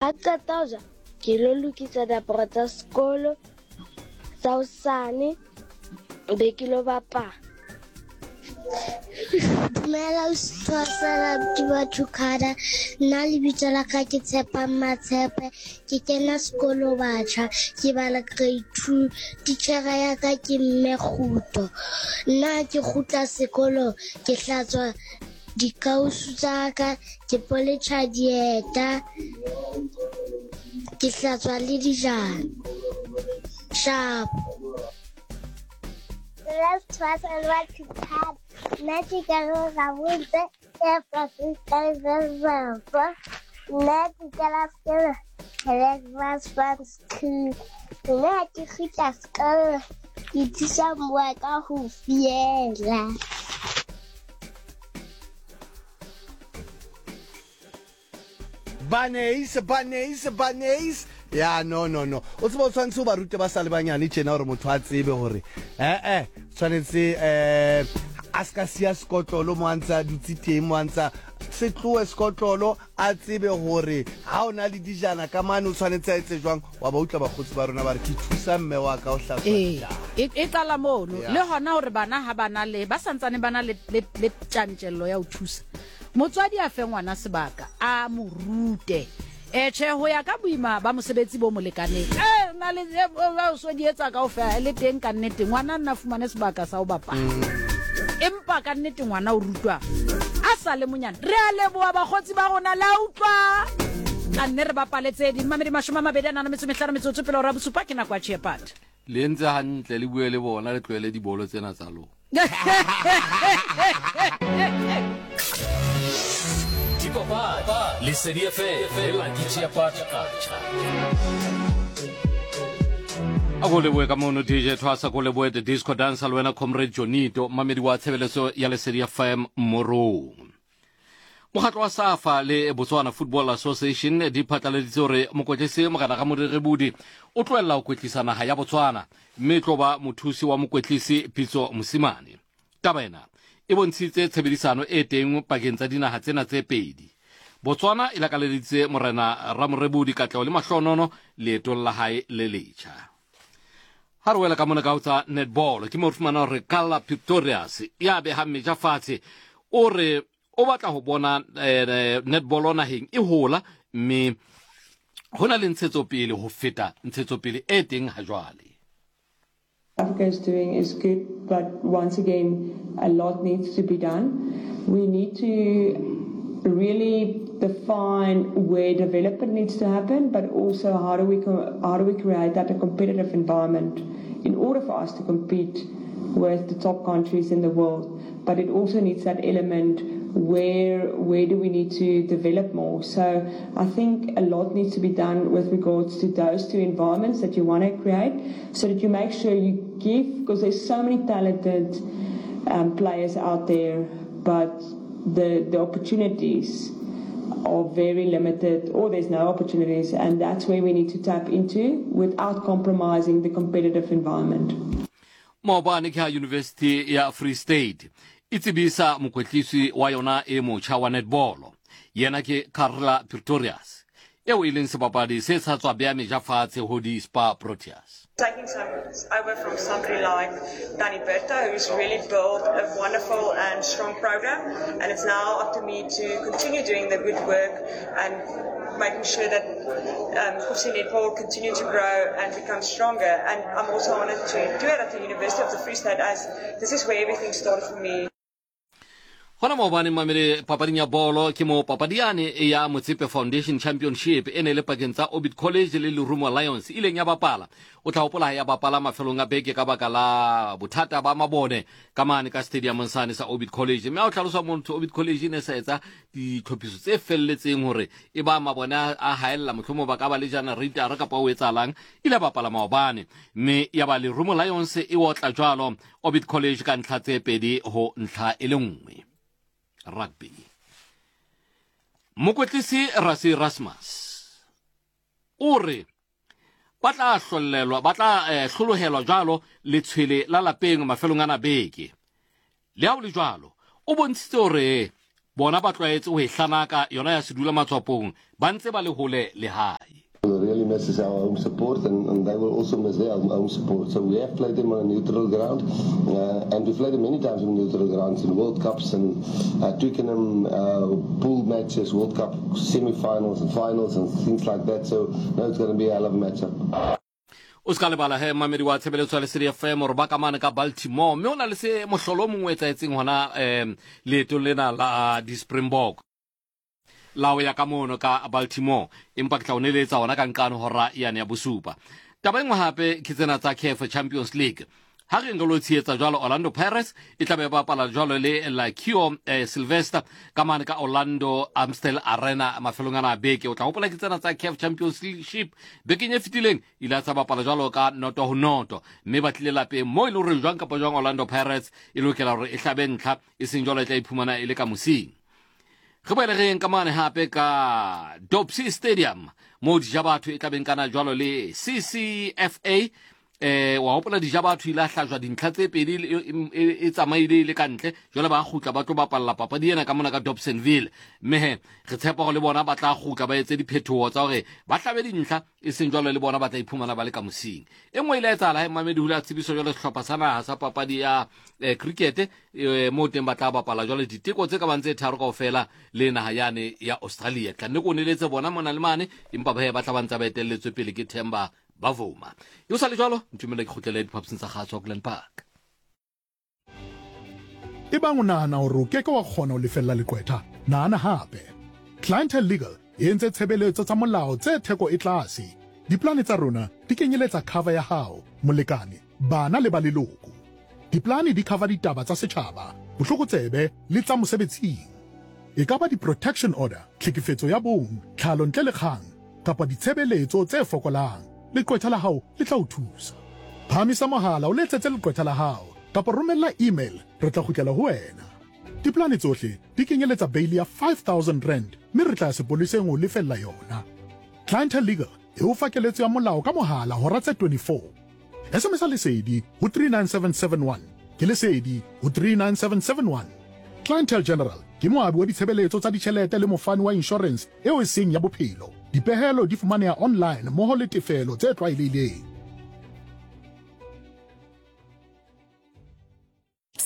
Ha ke qeta ho ja, ke lo lokisa diaparo tsa sekolo tsa hosane, be ke lo bapala. Dumela Sethwasela Batho Khada. Nna lebitso la ka ke Tshepang Matshepe. Ke kena sekolo batjha, ke bala grade 2. Titjhere ya ka ke Mme Kguto. Nna ke kgutla sekolong, ke hlatswa dikausu tsa ka, ke poletjha dieta, ke hlatswa le dijana. Sharp. Nna ke ka gabotse nna ke kena sekolo nna ke kgutla sekolo ke thusa mmoa ka ho fiela. Baneis, baneis, baneis. Ya, no, no, no. O tseba o tshwanetse o ba rute ba sa le banyane tjena gore motho a tsebe gore eh eh tshwanetse eh a ska siya sekotlolo mo a ntse a dutse teng mo a ntse se tlohe sekotlolo a tsebe gore ha o na le dijana ka mane o tshwanetse a etse jwang wa ba utlwa bakgotsi ba rona ba re ke thusa mme wa ka o hlatswa Ee, dijana. e, e qala mono Yeah. le gona gore bana ga ba na le ba santsane ba na le, le, le tjantjello ya ho thusa Motswadi a fe ngwana sebaka, a mo rute. E, tjhe, ho ya ka boima ba mosebetsi bo mo lekaneng. E, na le e, o so di etsa kaofela, le teng ka nnete ngwana nna fumane sebaka sa ho bapala. Empa ka nnete ngwana o rutwa a sa le monyane. Re a leboha bakgotsi ba rona, la utlwa. Tla nne re bapale tse ding. Mamedi 25 metsotso pele hora bosupa ke nako ya Tjhepata. Le entse hantle le bue le bona le tlohele dibolo tsena tsa lona. Dipapadi, Lesedi FM le Lucky Chiapata Kacha. A ko leboe ka mono DJ Thwasa ko leboe the disco dancer le wena comrade Jonito mamedi wa tshebeletso ya Lesedi FM Morong. Mokgatlo wa SAFA le Botswana Football Association di phatlaladitse gore mokwetlisi Morena Ramorerebudi o tlohella ho kwetlisa naha ya Botswana mme e tlo ba mothusi wa mokwetlisi Pitso Mosimane. Taba ena e bontshitse tshebedisano e teng pakeng tsa dinaha tsena tse pedi. Botswana e lakaleditse Morena Ramorebudi katleho le mahlohonono leetong la hae le letjha. Ha re wela ka mona ka ho tsa netball, ke mo re fumana hore Carla Pretorius ya behang meja fatshe o re o batla ho bona eh, netball naheng e hola mme ho na le ntshetsopele ho feta ntshetsopele e teng ha jwale. Africa is doing is good, but once again, a lot needs to be done. We need to really define where development needs to happen, but also how do we how do we create that a competitive environment in order for us to compete with the top countries in the world. But it also needs that element where where do we need to develop more. So I think a lot needs to be done with regards to those two environments that you want to create, so that you make sure you give, because there's so many talented um, players out there, but the the opportunities are very limited or there's no opportunities and that's where we need to tap into without compromising the competitive environment. Maobane ke ha University ya Free State e tsebisa mokwetlisi wa yona e motjha wa netball. Yena ke Carla Pretorius, eo e leng sebapadi se sa tswa bea meja fatshe ho di Spa Proteas. Taking some over from somebody like Danny Berta, who's really built a wonderful and strong program, and it's now up to me to continue doing the good work and making sure that um, Kovsie Netball continue to grow and become stronger. And I'm also honored to do it at the University of the Free State, as this is where everything started for me. Gona maobane mamele papading ya bolo ke mo papadi yane ya Motsepe Foundation Championship e ne le pakeng tsa Orbit College le Lerumo Lions ileng ya bapala. O tla hopola ha ya bapala mafelong a beke ka baka la bothata ba mabone ka mane ka stadiumong sane sa Orbit College. Mme ha o hlalosa motho Orbit College e ne sa etsa ditlhophiso tse felletseng hore e ba mabone a haella mohlomong ba ka ba le generator kapa o etsahalang ile bapala maobane mme ya ba Lerumo Lions e otla jwalo Orbit College ka ntlha tse pedi ho ntlha e le nngwe. Rugby. Mokwetlisi Rassie Erasmus o re ba tla hlollelwa ba tla eh, hlolohelwa jwalo letshwele la lapeng mafelong ana beke. Le ha o le jwalo, o bontshitse hore Bona ba tlwaetse ho e hlanaka yona ya sedula matswapong ba ntse ba le hole le hae. We'll really miss our home support and, and they will also miss their home, home support. So we have played them on a neutral ground uh, and we've played them many times on neutral grounds in World Cups and uh, Twickenham uh, pool matches, World Cup semi-finals and finals and things like that. So no, it's going to be a hell of a matchup. O se ka lebala he mamedi wa tshebeletso ya Lesedi FM gore ba ka mane ka Baltimore mme o na le se mohlolo o mongwe o etsaetseng hona um leetong lena la di-Springbok la ho ya ka mono ka Baltimore empa ke tla o neletsa hona ka nqane hora yane ya bosupa. Taba e nngwe hape ke tsena tsa CAF Champions League. Ha re lo tshehetsa jwalo Orlando Pirates e tla be e bapala jwalo le Lakio eh, Sylvester ka mane ka Orlando Amstel Arena mafelong ana a beke. O tla hopola ke tsena tsa CAF Championship bekeng e fetileng ile a tsa bapala jwalo ka noto ho noto mme ba tlile lapeng mo e le hore jwang kapa jwang Orlando Pirates e lokela hore e hlabe ntlha e seng jwalo e tla iphumana e le ka mosing. Re boele re yeng ka mane hape ka Dopsy Stadium moo Dijabatho e tla beng kana jwalo le CCFA eh wa hopola Dijabatho ile a hlajwa dintlha tse pedi e, e tsamaile e le ka ntle jwale ba kgutla ba tlo bapalla papadi ena ka mona ka Dobsonville mme he re tshepa gore le bona ba tla kgutla ba etse diphetoho tsa hore ba hlabe dintlha e seng jwalo le bona ba tla iphumana ba le ka mosing e nngwe ile ya etsahala he Mamedi Hule a tsebiswa jwale sehlopha sa naha sa papadi ya eh, cricket eh, moo teng ba tla bapala jwale diteko tse ka bang tse tharo kaofela le naha yane ya Australia tla nne ko neletse bona mona le mane empa ba ba tla ba ntse ba etelletswe pele ke Themba Bavuma yo sa le jwalo ntumele ke kgutlele diphaposing tsa kgaso Auckland Park. Ebang o nahana hore o ke ke wa kgona ho lefella leqwetha, nahana hape. Clientele Legal e entse tshebeletso tsa molao tse theko e tlase. Diplane tsa rona di kenyeletsa cover ya hao, molekane, bana le ba leloko. Diplane di cover ditaba tsa setjhaba, bohlokotsebe le tsa mosebetsing. E ka ba di-protection order, tlhekefetso ya bong, tlhalo ntle le kgang, kapa ditshebeletso tse fokolang, leqwetha la hao le tla o thusa. Phahamisa mohala o letsetse leqwetha la hao kapa romella email re tla kgutlela ho wena. Diplane tsohle di kenyeletsa beili ya R5000 mme re tla ya sepoleseng ho o lefella yona. Clientele Legal e o fa keletso ya molao ka mohala hora tse 24. SMS-a Lesedi ho 39771. Ke Lesedi ho 39771. Clientele General ke moabi wa ditshebeletso tsa ditjhelete le mofani wa inshorense eo e seng ya bophelo. Dipehelo di fumaneha online mmoho le tefelo tse tlwaelehileng.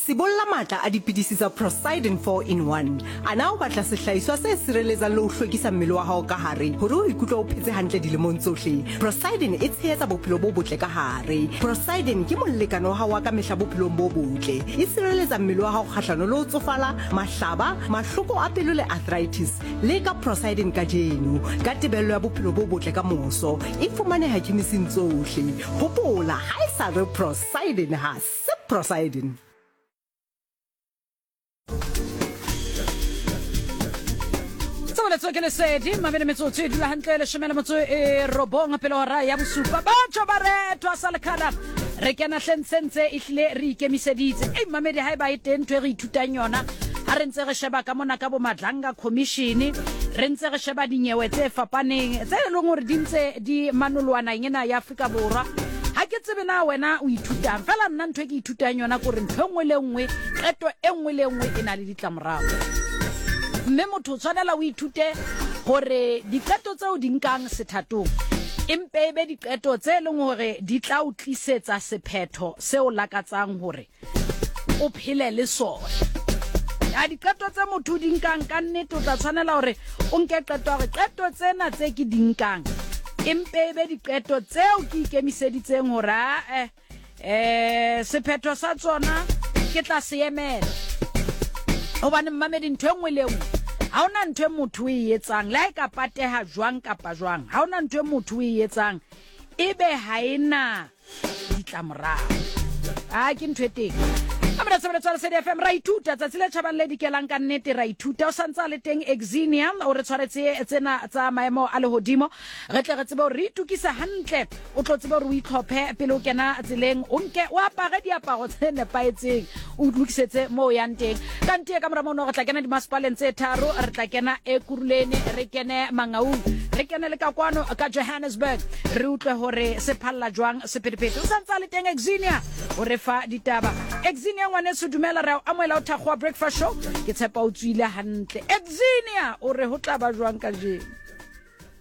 Sibolla matla a dipidisi tsa Procyden 4 in 1. A na o batla sehlahiswa se sireletsang le ho hlwekisa mmele wa hao ka hare hore o ikutlwe o phetse hantle dilemong tsohle? Procyden e tshehetsa bophelo bo botle ka hare. Procyden ke molekane wa hao wa ka mehla bophelong bo botle. E sireletsa mmele wa hao kgahlano le ho tsofala, mahlaba, mahloko a pelo le arthritis. Leka Procyden kajeno ka tebello ya bophelo bo botle ka moso. E fumaneha khemising tsohle. Hopola, ha e sa re Procyden ha se Procyden. Tshebeletso ke lesedi mabele metsotso e dula hantle leshome le motso e robong pele hora ya bosupa batho ba retwa sa lekhala re kena hlentshentse e hlile re ikemiseditse ei mamedi ha e ba e teng ntho e re ithutang yona ha re ntse re sheba ka mona ka bo Madlanga Commission re ntse re sheba dinyewe tse fapaneng tse e leng hore di ntse di manoloa naheng ena ya Afrika Borwa ha ke tsebe na wena o ithutang fela nna ntho e ke ithutang yona kore ntho e nngwe le nngwe qeto e nngwe le nngwe e na le ditlamorao mme motho o tshwanela o ithute gore diqeto tseo di nkang sethatong empe e be diqeto tse e leng gore di tla o tlisetsa sephetho seo lakatsang gore o phele le sona. Ya diqeto tse motho o di nkang ka nnete o tla tshwanela hore o nke qeto ya hore qeto tsena tse ke di nkang empe e be diqeto tseo ke ikemiseditseng hore ae eh sephetho sa tsona ke tla se emela. Hobane mmamedi ntho e nngwe le e nngwe ha ona ntho e motho o e etsang le ha e ka pateha jwang kapa jwang ha ona ntho e motho o e etsang ebe ha e na ditlamorao a ke ntho e teng a mona tshebeletso ya Lesedi FM ra ithuta tsatsi le tjhabang le dikelang ka nnete ra ithuta o santse a le teng Exinia o re tshwaretse tsena tsa maemo a lehodimo re tle re tsebe hore re itukise hantle o tlo tsebe hore o itlhophe pele o kena tseleng o nke o apare diaparo tse nepahetseng o lokisetse moo o yang teng ka ntie ka mora mono re tla kena dimasepaleng tse tharo re tla kena Ekurhuleni re kene Mangaung re kene le ka kwano ka Johannesburg re utlwe hore se phalla jwang sephethephethe. O sa ntse a le teng Exinia o re fa ditaba. Exinia. Junior ngwaneso dumela re a o amohela o Thakgowa Breakfast Show. Ke tshepa o tsoile hantle. Exinia o re ho tla ba jwang kajeno?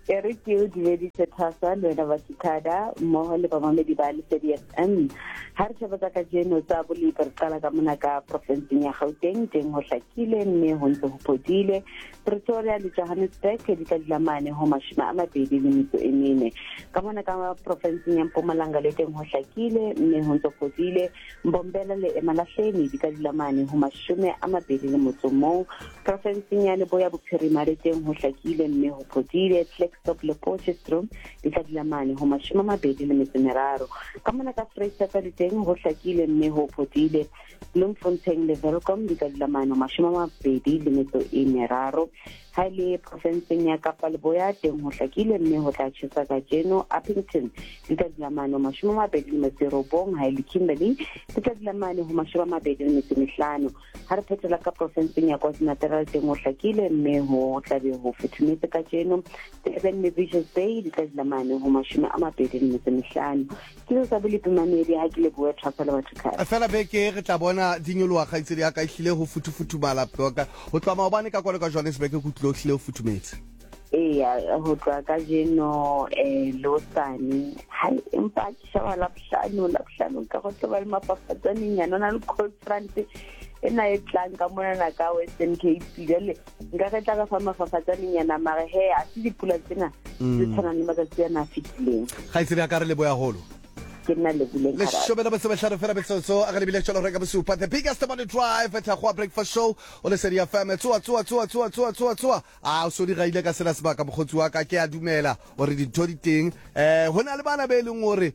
E re ke o dumedise Thasa le wena Basikada mmoho le bamamedi ba Lesedi FM. Ha re sheba tsa kajeno tsa bolepi re qala ka mona ka profenseng ya Gauteng, teng ho hlakile mme ho ntse ho phodile. Pretoria le Johannesburg di tla dula mane ho 24. Ka mona ka profenseng ya Mpumalanga le teng ho hlakile mme ho ntse ho phodile. Mbombela le Emalahleni di ka dula mane ho 21. Profenseng ya Leboya Bophirima le teng ho hlakile mme ho phodile. Klerksdorp le Potchefstroom di tla dula mane ho 23. Ka mona ka Freistata le teng ho hlakile mme ho phodile. Bloemfontein le Welkom di tla dula mane ho 23. Ha e le profenseng ya Kapa Leboya teng ho hlakile mme ho tla tjhesa kajeno. Upington di tla dula mane ho 29. Ha e le Kimberley di tla dula mane ho 25. Ha re phethela ka profenseng ya KwaZulu-Natal teng ho hlakile mme ho tla be ho futhumetse kajeno. Durban le Richards Bay di tla dula mane ho 25. Ke tsa bolepi mamedi ha ke lebohe Thwasa le batho khale. Fela beke re tla bona di nyoloha kgaitsedi ya ka ehlile ho futhufuthumala ka ho tloha maobane ka kwano ka Johannesburg ke utlwile ho hlile ho futhumetse. Eya ho tloha kajeno eh le hosane hai empa ke sheba Labohlano Labohlano ka go tlo ba le mafafatsanenyana o na le cold front ena e tlang ka monana ka Western Cape jwale nka re tla ka fa mafafatsanenyana mare he a se dipula tsena tse tshwanang le matsatsi ana a fetileng. Kgaitsedi ya ka re leboya holo. Ke nna Lebuleng Kgabane. Leshome le metso mehlano fela metsotso a re lebile tšwela go reka bosupa the biggest morning drive Thakgoa breakfast show o Lesedi FM tsoa tsoa tsoa tsoa tsoa tsoa tsoa a o so di gaile ka sena sebaka mokgotsi wa ka ke a dumela gore dintho di teng eh ho na le bana be e leng gore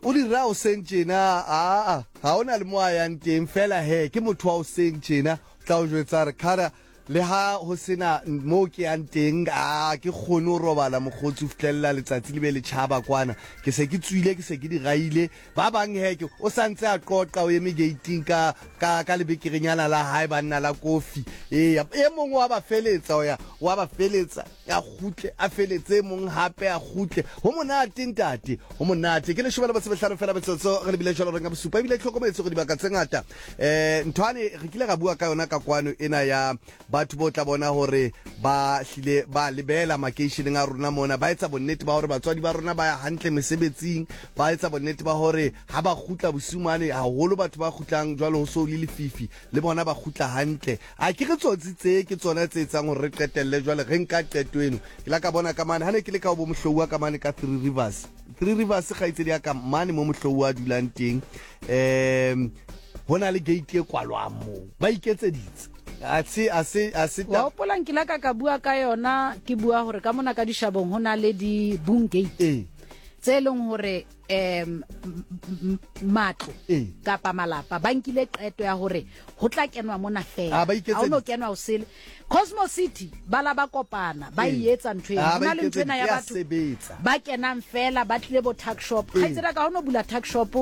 o di ra o seng tjena aa ga o na le mo a yang teng fela he ke motho wa o seng tjena tla o jwetsa re khara le ha ho sena moo ke yang teng a ke kgone ho robala mokgotsi ho fihlelela letsatsi le be le tjhaba kwana ke se ke tswile ke se ke di gaile ba bang he ke o sa ntse a qoqa o eme gating ka ka ka lebekerenyana la hae banna la kofi eya e mongwe wa ba feletsa o ya wa ba feletsa a kgutle a feletse e mong hape a kgutle ho monate ntate ho monate ke leshome le metso mehlano fela metsotso re lebile jalo re nga bosupa ebile tlhokometse gore dibaka tse ngata um nthwane re kile ra bua ka yona ka kwano ena ya batho bo tla bona gore ba hlile ba lebela makeisheneng a rona mona ba etsa bonnete ba gore batswadi ba rona ba ya hantle mesebetsing ba etsa bonnete ba gore ha ba kgutla bosiu mane haholo batho ba kgutlang jwalo ho so le lefifi le bona ba kgutla hantle A ke re tsotsi tse ke tsona tse etsang hore re qetelle jwale re nka qeto eno. Ke la ka bona ka mane ha ne ke le ka ho bo Mohlouwa ka mane ka Three Rivers. Three Rivers kgaitsedi ya ka mane mo Mohlouwa a dulang teng. Um ho na le gate e kwalwang moo. Ba iketseditse. A se a se a se Wa hopola nkile ka ka bua ka yona ke bua hore ka mona ka dishabong ho na le di boom gate. Ee. Tse leng hore um matlo Ee. kapa malapa ba nkile qeto ya hore ho tla kenwa mona fela Ah, ba ha o no kenwa o sele Cosmo City ba la ba kopana ba e etsa ntho eno Ah, ho ba na le ntho ena ya iketseditse, ya batho sebetsa. ba kenang fela ba tlile bo tuck shop Ee. kgaitsedi ka ha o no bula tuck shop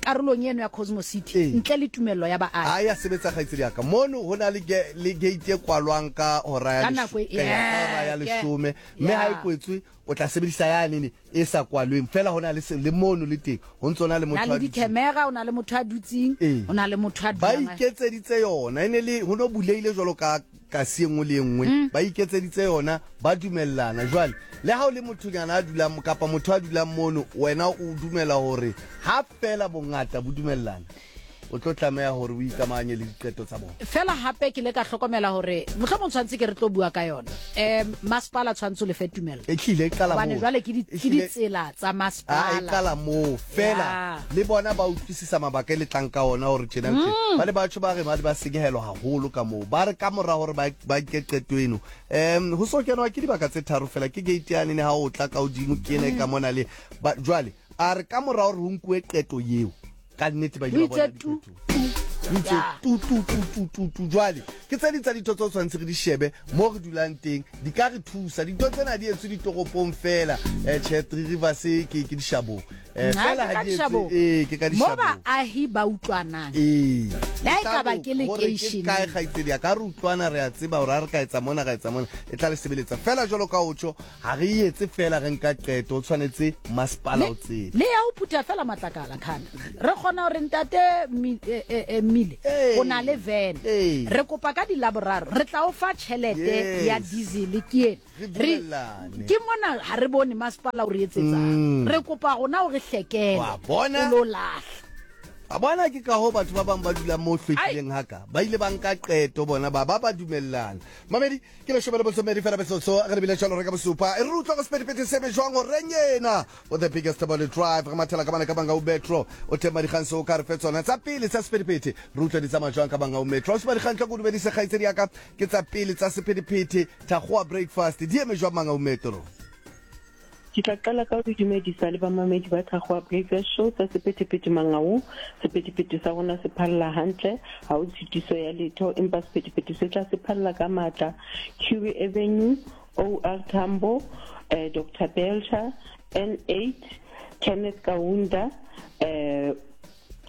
karolong eno ya Cosmo City Ee. ntle le tumello ya baahi Ha ya sebetsa kgaitsedi ya ka mono ho na le ge- le gate e kwalwang ka hora ya Ka nako e- ka hora ya Yeah, leshome mme ha e yeah. kwetswe o tla sebedisa yane e sa kwalweng fela ho na le se le mono le teng ho ntso na le na motho le a dutseng. di-camera o na le motho a dutseng Ee. o na le motho a Ba dulang a- iketseditse yona e ne le ho no bulehile jwalo ka kasi e nngwe le e nngwe ba iketseditse yona ba dumellana jwale le ha o le mothonyana a dulang kapa motho a dulang mono wena o dumela hore ha fela bongata bo dumellana o tlo tlameha hore o ikamahanye le diqeto tsa bona. Fela hape ke ile ka hlokomela hore mohlomong tshwanetse ke re tlo bua ka yona. Um masepala tshwanetse o lefe tumello. Ehlile e qala Hobane moo. jwale ke di- ke Ehlile- ditsela tsa Ah, e masepala. qala moo fela Ya. le bona ba utlwisisa mabaka e le tlang ka ona hore tjena le tjena. Ba le batho ba re ba le ba senyehelwa haholo ka moo ba re ka mora hore ba ba nke qeto eno um ho so kenwa ke dibaka tse tharo fela ke gate yane ne ha o tla ka hodimo ke ena e ka mona le ba jwale a re ka mora hore ho nkuwe qeto eo ka nnete ba ile ba bona Ho itse tu, diphetoho. Ho itse tu tu tu tu tu tu jwale ke tse ding tsa dintho tse o tshwanetse re di shebe mo re dulang teng di ka re thusa dintho tsena di etswe ditoropong fela um tjhe Three Rivers ke ke dishabong. Eh, Ha, fela ke ha ka di etse dishabong. ee ke ka Mo dishabong. baahi ba utlwanang. Ee. Le ha e ka ba ke Hore ke lekeisheneng. kae kgaitsedi ya ka re utlwana re a tseba hore ha re ka etsa mona ra etsa mona e tla le sebeletsa fela jwalo ka o tjho ha re e etse fela re nka qeto o tshwanetse masepala o tsebe Le ya ho phutha fela matlakala khana. Re kgona hore ntate Mi- eh, eh, eh, Mmile Ee. o na le van. Ee. Re kopa ka dilaboraro re tla o fa tjhelete ya Yes. diesel ke ena. Re Re dumellane. ke mona ha re bone masepala o re etsetsang. Re kopa rona o re hlekele. Wa bona? O lo lahla. A bona ke ka hoo batho ba bang ba dulang mo hlwekileng haka ba ile ba nka qeto bona ba ba ba dumellana. Mamedi ke leshome le bosomedi fela metsotso re lebile jwalo re ka bosupa e re utlwa go sephethephethe se me jwang o reng ena o the biggest body drive re mathela ka bana ka banga o metro o teng madikgang se o ka re fe tsona tsa pele tsa sephethephethe re utlwa di tsamaya jwang ka banga o metro o se madikgang tla ko dumedise kgaitsedi ya ka ke tsa pele tsa sephethephethe thakgowa breakfast di eme jwang Mangaung Metro? Ke tla qala ka ho le dumedisa le bamamedi ba Thakgowa Breakfast Show tsa sephethephethe Mangaung. Sephethephethe sa rona se phalla hantle, ha ho tshitiso ya letho, empa sephethephethe se tla se phalla ka matla Curie Avenue, OR Tambo, eh, Doctor Belcher, N8, Kenneth Kaunda, eh,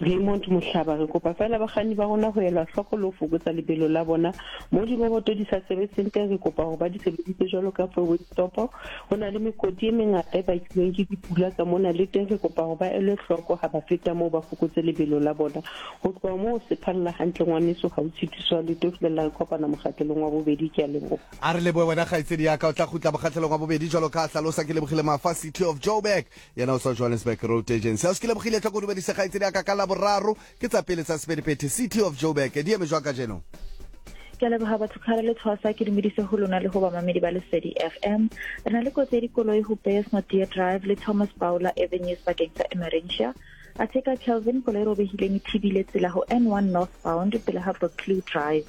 Raymond Mohlaba, Re kopa feela bakganni ba rona ho ela hloko le ho fokotsa lebelo la bona. Moo diroboto di sa sebetseng teng, re kopa hore ba di sebedise jwalo ka four-way stop. Ho na le mekoti e mengata e bakilweng ke dipula ka mona, le teng re kopa hore ba elwe hloko ha ba feta moo ba fokotse lebelo la bona. Ho tloha moo se phalla hantle ngwaneso, ha ho tshitiso ya letho ho fihlella re kopana mokgahlelong wa bobedi. Ke a leboha. A re lebohe wena kgaitsedi ya ka, o tla kgutla mokgahlelong wa bobedi jwalo ka ha hlalosa. Ke Lebogile Mafa, City of Joburg. Yena o tswa Johannesburg Road Agency. Ausi ke lebogile tlhoko dumedise kgaitsedi ya ka ka Laboraro ke tsa pele tsa sephethephethe City of Joburg di eme jwang kajeno? Ke a leboga batho kgale le tshwasa ke dumedise ho lona le ho bamamedi ba Lesedi FM. Re na le kotsi ya dikoloi ho Beyers Naudé Drive le Thomas Bowler Avenue sebakeng sa Emmarentia. Athe ka Kelvin koloi e robehileng e thibile tsela ho N1 northbound pele ha Buccleuch Drive.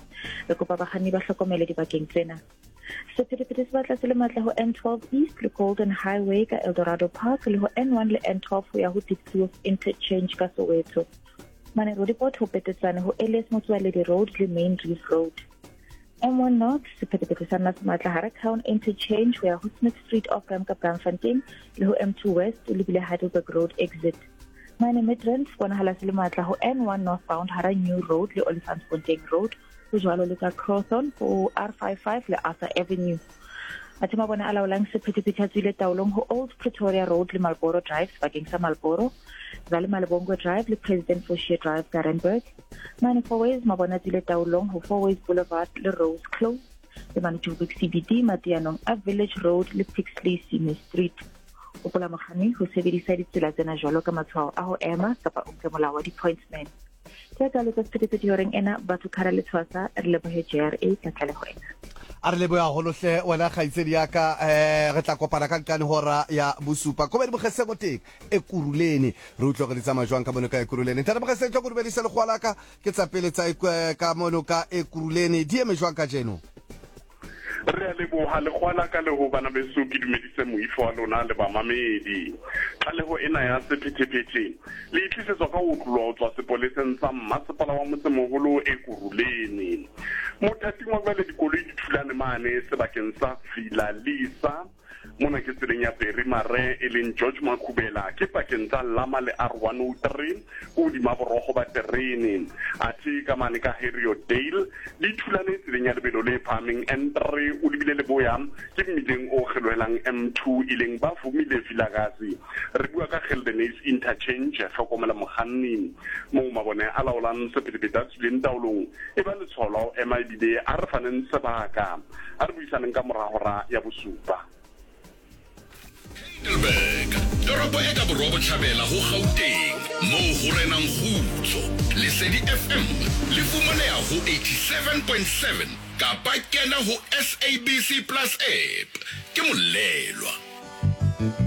Re kopa bakganni ba hlokomele dibakeng tsena. Sephethephethe se batla se le matla ho N12 East le Golden Highway ka Eldorado Park le ho N1 le N12 ho ya ho Diepkloof Interchange ka Soweto. Mane Roodepoort ho petetsane ho Elias Motsoaledi Road le Main Reef Road. M1 North sephethephethe sa nna se matla hara Town Interchange ho ya ho Smith Street off ramp ka Braamfontein le ho M2 West o lebile Heidelberg Road exit. Mane Midrand se bonahala se le matla ho N1 northbound hara New Road le Olifantsfontein Road Ho jwalo le ka Crowthorne ho R55 le Arthur Avenue. Athe mabone a laolang sephethephethe a tswile taolong ho Old Pretoria Road le Marlboro Drive sebakeng sa Marlboro, Zale Malebongwe Drive le President Fouchier Drive ka Randburg. Mane Fourways mabone a tswile taolong ho Fourways Boulevard le Rose Close le mane Joburg CBD mateanong a Village Road le Pixley Sime Street. Hopola mokganni ho sebedisa ditsela tsena jwalo ka matshwao a ho ema kapa o nke molao wa di-pointsman. Ke tsa letsa sephethephethe horeng ena batho khara le tshwasa re lebohe JRA ka tlaleho ena. A re lebohe haholo hle wena kgaitsedi ya ka eh re tla kopana ka nqane hora ya bosupa kobedi mogeseng o teng Ekurhuleni re utlwe gore di tsamaya jwang ka mono ka Ekurhuleni ntate Mogeseng tlo ko dumedise lekgowa la ka ke tsa pele tsa ka mono ka Ekurhuleni di eme jwang kajeno? Re a leboha lekgowa la ka le ho bana beso ke dumedise moifo wa lona le bamamedi. Tlaleho ena ya sephethephethe le e tlisetswa ka ho otloloha ho tswa sepoleseng sa mmasepala wa motsemoholo Ekurhuleni. Mothating wa jwale dikoloi di thulane mane sebakeng sa Villa Lisa. Mona ke tseleng ya Barry Mare e leng George Makhubela ke pakeng tsa Lama le R103 ko hodima borogo ba terene. Athe ka mane ka Heriotdale di thulane tseleng ya lebelo le phahameng N3 o lebile leboya ke mmileng o kgelohelang M2 e leng ba Vumile Vilakazi. Re bua ka Geldenhuys Interchange, hlokomela mokganni. Moo mabone a laolang sephethephethe a tswileng taolong e ba letshwao la ho ema ebile a re faneng sebaka. A re buisaneng ka mora hora ya bosupa. Heidelberg, toropo e ka borwa-bohlabela ho Gauteng, moo ho renang kgutso. Lesedi FM le fumaneha ho 87.7 kapa kena ho SABC Plus app. Ke Molelwa.